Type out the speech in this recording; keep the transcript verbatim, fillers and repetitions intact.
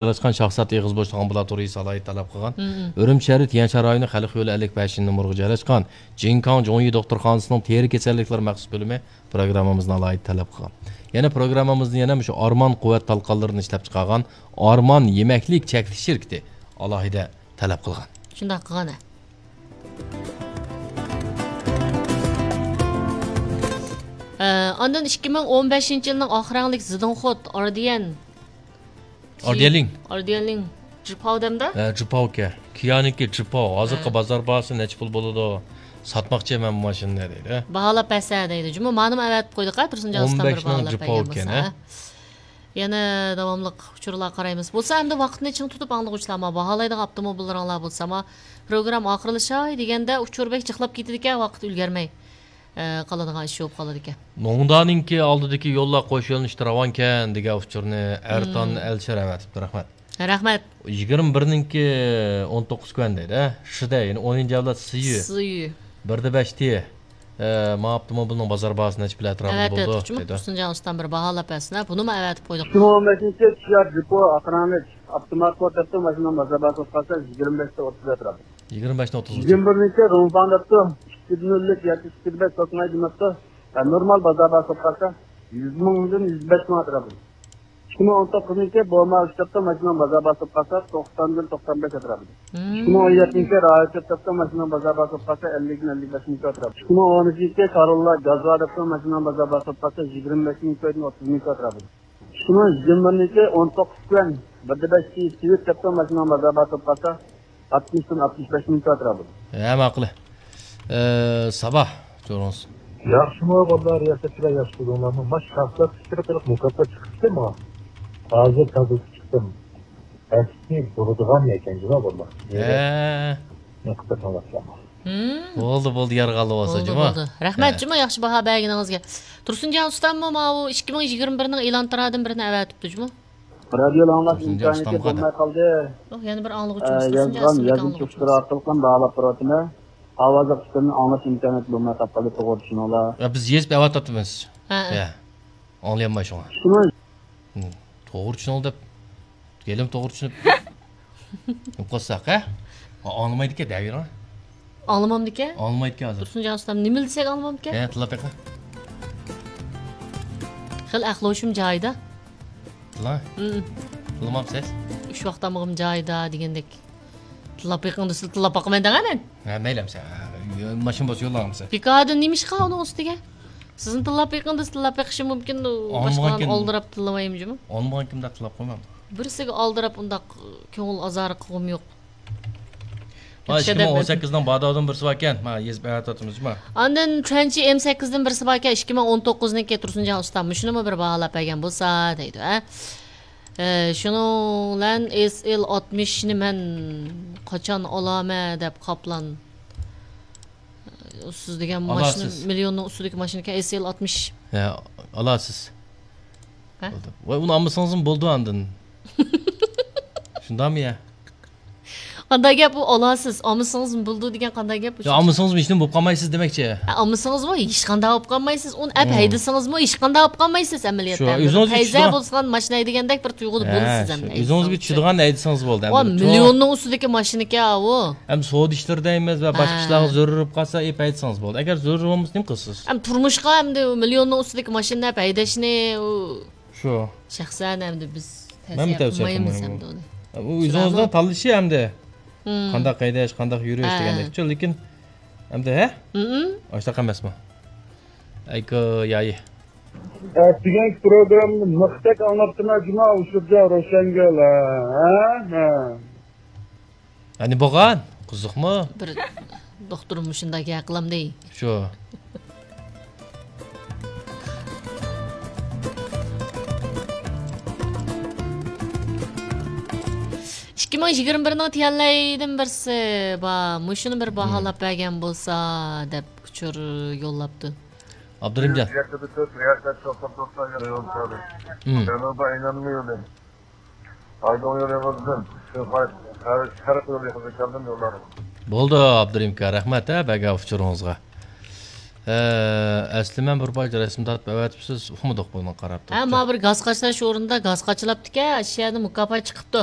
جايلاشقان شاھزات ئېغىز بوشلۇق ئامبۇلاتورىيىسى ئالاھىدە تەلەپ قىلغان. ئۈرۈمچى شەھىرى تيەنشان رايونى خەلق يولى ئەللىك بەشىنچى نومۇرغا جايلاشقان جىنكاڭ جوڭيى دوختۇرخانىسىنىڭ تېرە كېسەللىكلىرى مەخسۇس بۆلۈمى پروگراممىمىزنى ئالاھىدە تەلەپ قىلغان. يەنە پروگراممىمىزنى يەنە مۇشۇ ئارمان قۇۋۋەت تالقانلىرىنى ئىشلەپچىقارغان ئارمان يېمەكلىك چەكلىك شىركىتى ئالاھىدە تەلەپ قىلغان. شۇنداق قىلغان، ھە. ئە، ئاندىن ئىككى مىڭ ئون بەشىنچى يىلنىڭ ئاق رەڭلىك زىدىڭخوت، ئاردىيەن. ئاردىيەنلىڭ. ئاردىيەنلىڭ. جىپاۋ دەمدە؟ ھە، جىپاۋكەن. كىيانىڭكى جىپاۋ. ھازىرقى ھە. بازار باھاسى نەچچە پۇل بولىدۇ؟ ساتماقچى مەن بۇ ماشىنىنى دەيدۇ. باھالاپ بەرسە دەيدۇ. جۇمۇ مانىمۇ ئەۋەتىپ قويدۇق ھە، تۇرسۇنجان ئۇستام بىر باھالاپ بەرگەن بولسا. ئون بەش نىڭ جىپاۋكەن، ھە؟ يەنە داۋاملىق ئۇچۇرلار قارايمىز. بولسا ئەمدى ۋاقىتنى چىڭ تۇتۇپ ئاڭلىغۇچىلار، ما باھالايدىغان ئاپتوموبىللىرىڭلار بولسا، ما پروگرامما ئاخىرلىشاي دېگەندە ئۇچۇر بەك جىقلاپ كېتىدىكەن، ۋاقىت ئۈلگۈرمەي، ئە، قالىدىغان ئىش بولۇپ قالىدىكەن. نوڭدانىڭكى ئالدىدىكى يوللار قوش يۆنىلىشتە راۋانكەن دېگەن ئۇچۇرنى ئەرتان مم. ئەلشەر ئەۋەتىپتۇ. رەھمەت. رەھمەت. يىگىرمە بىرنىڭكى ئون توققۇز كۈەن دەيدۇ، ھە؟ شىدە، يەنى ئونىنچى ئەۋلاد سىيۈ. سىيۈ. بىردە بەش تى. ئە، ما ئاپتوموبىلنىڭ بازار باھاسى نەچچە پۇل ئەتراپىدا بولىدۇ؟ ئەۋەتتۇق جۇمۇ، دەيدۇ. تۇرسۇنجان ئۇستام بىر باھالاپ بەرسىن، ھە؟ بۇنىمۇ ئەۋەتىپ قويدۇق. ئىككى مىڭ ئون بەشىنچى كىيا جىپو ئاق رەڭلىك ئاپتومات بولۇپ كەتتى، ماشىنىنىڭ بازار باھاسى بولۇپ قالسا يىگىرمە بەشتە ئوتتۇز ئەتراپىدا. يىگىرمە بەشتە ئوتتۇز. يىگىرمە بىرنىڭكى روڭفاڭ دەپتۇ، ئىككى نۆللۈك ياكى ئىككى بەش توقۇناي دېمەپتۇ. ھە، نورمال بازار باھاسى بولۇپ قالسا يۈز مىڭدىن يۈز بەش مىڭ ئەتراپىدا. ئىككى مىڭ ئون توققۇزنىڭكى بوما ئۈچ دەپتۇ، ماشىنىنىڭ بازار باھاسى بولۇپ قالسا توقساندىن توقسان بەش ئەتراپىدا. مم. ئىككى مىڭ ئون يەتتىنچى رايوچوت دەپتۇ، ماشىنىنىڭ بازار باھاسى بولۇپ قالسا ئەللىكتىن ئەللىك بەش مىڭ ئەتراپىدا. ئىككى مىڭ ئون ئۈچىنچى كاروللا گازوا دەپتۇ، ماشىنىنىڭ بازار باھاسى بولۇپ قالسا يىگىرمە بەش مىڭ ئوتتۇز مىڭ ئەتراپىدا. شۇنىڭ يىگىرمە بىرىنچى ئون توققۇز كۈەن بىردە بەش سىۋىت دەپتۇ، ماشىنىنىڭ بازار باھاسى بولۇپ قالسا ئاتمىشتىن ئاتمىش بەش مىڭ ئەتراپىدا. ھە، ماقۇل. ئە، ساباھ، جورۇڭ. ياخشىمۇ بالىلار، رىياسەتچىلەر ياخشى تۇردۇڭلارمۇ؟ ماش شاھزات پىكرى قىلىپ مۇكاپات چىقىپتۇ ما. ھازىر تازىلىتىپ چىقتىم. ئەسلى بۇرىدىغان ئىكەن جۇما بالىلار. ھە. نېقىپ بېقىڭلار. مم. بولدى، بولدى، يارغانلا بولسا، بولدى، جۇما. بولدى. رەھمەت، ھە. جۇما، ياخشى باھا بەرگىنىڭىزگە. تۇرسۇنجان ئۇستاممۇ ماۋۇ ئىككى مىڭ يىگىرمە بىرنىڭ ئېلان تارادىن بىرنى ئەۋەتىپتۇ، جۇما. رادىيو ئاڭلاش تۇرسۇنجان ئىمكانىيىتى ئۇستامغا بولماي قالدى. يوق، يەنە بىر ئاڭلىغۇچىمىز، ئە، تۇرسۇنجان يازغان ئىسىملىك يازما ئاڭلىغۇچىمىز. چوقچىلار ئارقىلىق ھەم باھالاپ بېرىۋاتىمەن. ئاۋازلىق ئىشلىرىنى ئاڭلاش ئىمكانىيىتى بولماي قاپقالدى، توغرا چۈشىنىڭلار. يا، بىز يېزىپ ئەۋاتاتىمىز. ھە. يا. ئاڭلىيالماي شۇڭا. شۇنى. ھىم. توغرا چۈشىنىڭ دەپ. گېلىم توغرا چۈشىنىپ. نېمە قىلساق، ھە؟ ئا-، ئاڭلىمايدىكەن، دەۋېرىڭ. ئاڭلىمامدىكەن؟ ئاڭلىمايدىكەن ھازىر. تۇرسۇنجان ئۇستام، نېمىلا دېسەك ئاڭلىمامدىكەن؟ ھە، تىللاپ بېقىڭ. خېلى ئەقلى ھوشۇم جايىدا. تىللاڭ. ھىم. تىللىمامسىز؟ ئۈچ ۋاقىت تامىقىم جايىدا دېگەندەك. تىللاپ بېقىڭ دېسىلا، تىللاپ باقىمەن دەڭە مەن. ھە، مەيلى ئەمسە. ھە، ماشىنا بولسا يوللاڭ ئەمسە. بىكاردىن نېمە ئىش قىلغان ئۇنىڭ ئۈستىگە؟ سىزنى تىللاپ بېقىڭ دېسە، تىللاپ بېقىشى مۇمكىن، ئاڭلىمىغانكىن، باشقىلارنى ئالدىراپ تىللىمايمۇ جۇمۇ؟ ئاڭلىمىغانكىن دەپ تىللاپ قويمامدۇ؟ بىرسىگە ئالدىراپ ئۇنداق كۆڭۈل ئازارى قىلغۇم يوق. ما، ئىككى مىڭ ئون سەككىزنىڭ باداۋدىن بىرسى باركەن، ما، يېزىپ ئەۋەتىۋاتىمىز، ما. ئاندىن تۇەنچى ئېم سەككىزدىن بىرسى باركەن، ئىككى مىڭ ئون توققۇزنىڭكى تۇرسۇنجان ئۇستام، مۇشۇنىمۇ بىر باھالاپ بەرگەن بولسا، دەيدۇ، ھە. ئە، شۇنىڭ بىلەن ئېس ئېل ئاتمىشنى مەن قاچان ئالامەن دەپ قاپلان. ئۇسسۇز دېگەن ماشىنا، ئالاسىز. مىليوننىڭ ئۈستىدىكى ماشىنىكەن، ئېس ئېل ئاتمىش. ھە، ئالاسىز. ھە؟ بولدى. ۋاي، ئۇنى ئالمىسىڭىزمۇ بولىدۇ ئاندىن. شۇنداقمۇ يا؟ قانداق گەپ ئۇ، ئالاسىز، ئالمىسىڭىزمۇ بولىدۇ دېگەن قانداق گەپ ئۇ؟ يا، ئالمىسىڭىزمۇ ھېچنېمە بولۇپ قالمايسىز دېمەكچى. ھە، ئالمىسىڭىزمۇ ھېچقانداق بولۇپ قالمايسىز. ئۇنى ئەپ مم. ھەيدىسىڭىزمۇ ھېچقانداق بولۇپ قالمايسىز ئەمەلىيەتتە. شۇ، ئۆزىڭىزگە پەيزە چۈشىدىغان بولسىغان ماشىنا ھەيدىگەندەك بىر تۇيغۇدا ھە، بولىسىز شۇ. ئەمدى ئۆزىڭىزگە ھەيدىسىڭىزچۇ؟ چۈشىدىغان ھەيدىسىڭىز بولدى ئەمدى. ۋا، مىليوننىڭ ئۈستىدىكى ماشىنىكەن ئاۋۇ. ئەمدى سودا ئىشلىرىدا ئەمەس ۋە باشقا ھە. ئىشلارغا زۆرۈر بولۇپ قالسا، ئېپ ھەيدىسىڭىز بولدى. ئەگەر زۆرۈر بولمىسا، نېمە قىلىسىز؟ ئەمدى تۇرمۇشقا ئەمدى مىليوننىڭ ئۈستىدىكى ماشىنىنى ئەپ ھەيدەشنى، ئۇ شۇ. شەخسەن ئەمدى بىز مەنمۇ تەۋسىيە تەۋسىيە قىلمايمەن. ئەمدى ئۇنى. ئۇ ئۆزىڭىزنىڭ تاللىشى ئەمدى. مم. قانداق ھەيدەش، قانداق يۈرۈش ھە. دېگەندەكچۇ، لېكىن ئەمدى ھە؟ مم. ئاشۇنداق ئەمەسمۇ؟ ئەيكو يايى. ئەتىگەنكى پروگراممىنى مىختەك ئاڭلاپتىمەن جۇما، ئۇشۇرجا روشەنگۈل، ھە؟ ھە. ئەنە بولغان، قىزىقمۇ؟ بىر دوختۇر مۇشۇنداق گەپ قىلامدى. شۇ. ئىككى مىڭ يىگىرمە بىرنىڭ تيەنلەيدىن بىرسى بار، مۇشۇنى بىر باھالاپ بەرگەن بولسا دەپ ئۇچۇر يوللاپتۇ. ئابدۇرېھىمجان. يەتتە بىر تۆت، رىياسەت، توقسان توقسان يول سالدى. مم. جەنۇبىي ئايلانما يولى. ئايدىڭ يولى يولىدىن، شۇ پاي-، شەرق يولى يېقىندا كەلدىم يوللارغا. بولدى، ئابدۇرېھىم ئاكا، رەھمەت، ھە، بەرگەن ئۇچۇرىڭىزغا. ئەسلى مەن بىر پارچە رەسىم تارتىپ ئەۋەتىپسىز، ئۇقمىدۇق بۇنى قاراپ ھە، ما بىر گاز قاچىلاش ئورنىدا گاز قاچىلاپتىكەن، ئاشۇ يەردە مۇكاپات چىقىپتۇ.